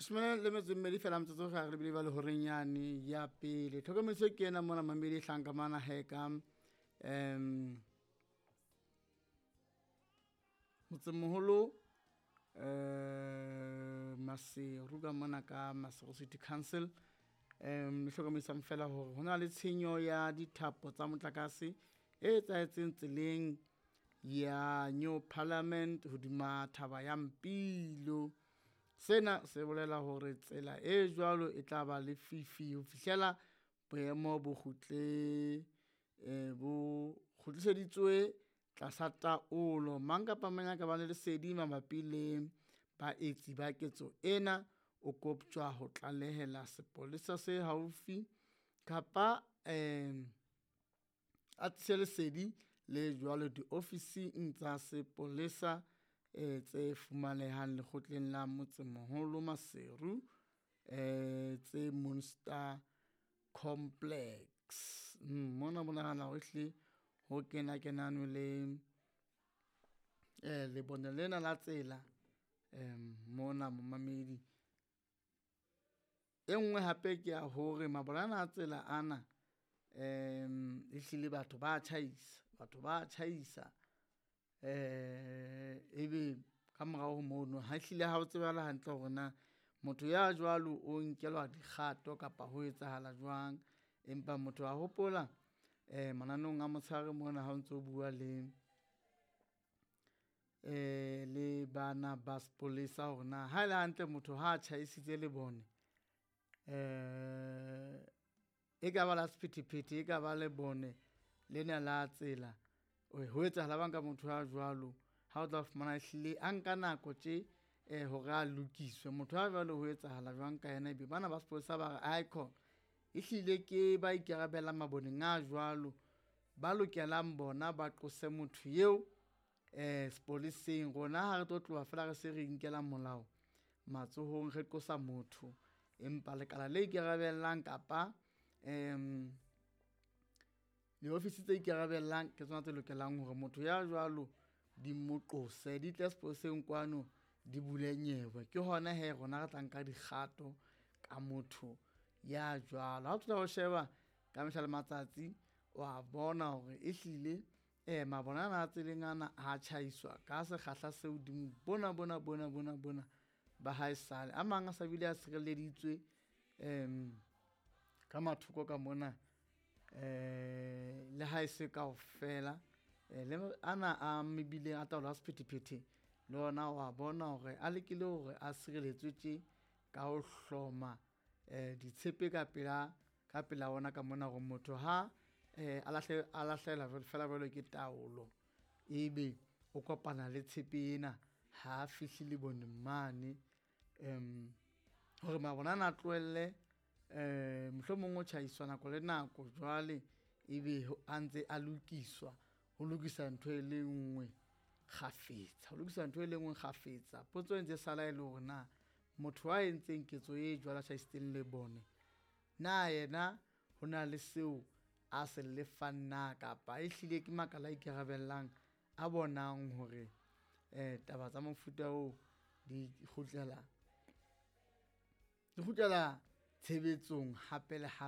Leshome le metso e mmedi fela metsotso ga re lebile ba le horeng yane ya pele. Tlhokomediso ke ena mona mamedi e hlang ka mana he ka motsemoholo Maseru ka mona ka Maseru City Council. Le hlokomedisang fela hore ho na le tshenyo ya dithapo tsa motlakase e etsahetseng tseleng ya New Parliament hodima thaba ya Mpilo. Sena se bolela hore tsela e jwalo e tla ba lefifi ho fihlela boemo bo kgutle bo kgutliseditswe tlasa taolo. Mang kapa mang ya ka bang le lesedi mabapi le baetsi ba ketso ena, o koptjwa ho tlalehela sepolesa se haufi kapa a tlise lesedi le jwalo diofising tsa sepolesa tse fumanehang lekgotleng la motsemoholo Maseru tse Munster Complex. Mona bonahala hore ehlile ho kena kenanwe le lebone lena la tsela mona momamedi. E nngwe hape ke ya hore mabone ana a tsela ana ehlile batho ba tjhaisa, batho ba tjhaisa ebe ka morao ho mono ha ehlile ha o tsebahale hantle hore na motho ya jwalo o nkelwa dikgato kapa ho etsahala jwang. Empa motho a hopola mananeong a motshehare mona ha o ntso bua le le bana ba sepolesa hore na ha ele hantle motho ha tjhaisitse lebone e ka ba la sephethephethe, e ka ba lebone lena la tsela, ho etsahala jwang ka motho ya jwalo. Ha o tla fumana ehlile a nka nako tje hore a lokiswe. Motho ya jwalo ho etsahala jwang ka yena, ebe bana ba sepolesa ba re aikhona ehlile ke ba ikarabellang maboneng a jwalo, ba lokelang bona ba qose motho eo sepoleseng. Rona ha re tlo tloha fela re se re inkela molao matsohong, re qosa motho empa lekala le ikarabellang kapa diofisi tse ikarabellang ke tsona tse lokelang hore motho ya jwalo di mo qose, di tle sepoleseng kwano di bule nyewe. Ke hona hee rona re tla nka dikgato ka motho ya jwalo. Ha o thola o sheba ka mehla le matsatsi wa bona hore ehlile mabone ana a tseleng ana a tjhaiswa ka sekgahla se hodimo bona bona bona bona bona ba haesale. A mang a sa bile a sirelleditswe ka mathoko ka mona le ha e se kaofela le ana a mebileng a taolo ya sephethephethe le ona wa bona hore a lekile hore a sireletswe tje ka ho hloma ditshepe ka pela, ka pela ona ka mona hore motho ha a a lahlehelwa fela jwalo ke taolo, ebe o kopana le tshepe ena ha fihle leboneng mane. Hore mabone ana a tlohelle mohlomong ho tjhaiswa nako le nako jwale ebe a ntse a lokiswa, ho lokisa ntho e le nngwe kgafetsa, ho lokisa ntho e le nngwe kgafetsa. Potso e ntse sala e le hore na motho a entseng ketso e jwalo, a tjhaisitseng lebone na yena ho na le seo a se lefang na, kapa ehlile ke makala a ikarabellang a bonang hore taba tsa mofuta oo di kgutlela tshebetsong hape le hape.